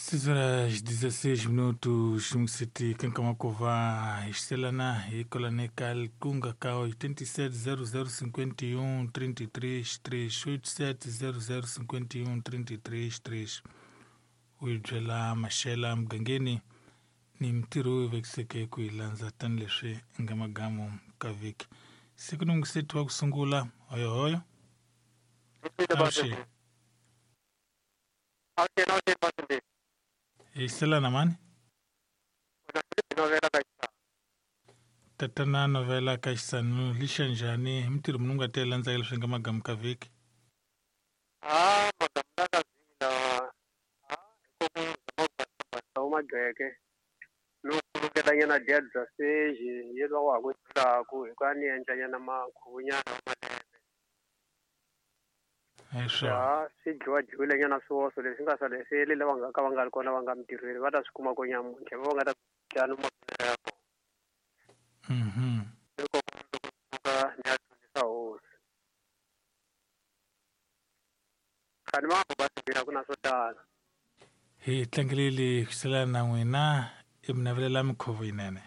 Horas 16 minutos msiti kankamakova ixelana hikolanekal kunga ka 87 00 51 33 3 87 00 51 33 3 u yi byela maxela mugangeni ni mintirho yi vekiseke ku yi landza tanihileswi nga magamu ka vhiki siku ni museti wa ku sungula hoyohoyo avuxeni hi hlelana mani tatana novela ka xisanu lixa njhani hi mintirho munhu nga ta yi landzaka leswi nga magamu ka vhiki a magamu la ka vhiki lawa a hi ku zama ku mageke no kulukela dya bya seji yelwa wa ha ku dlaku hi ku a ni endla nyana makhuvunyana wa malembe hi swona ya swi dyiwa dyiwile nyana swihoxo leswi nga sala sele lava nga ka va nga ri kona va nga mintirhweni va ta swi kuma ko nyamuntlha va nga ta dya no mavonelo ya vona loko loko suka ni ya dyondzisa hosi khani va nga va ku na swo tala hi tlangeleli ku selana na n'wina i mi navelela mikhuvo yinene.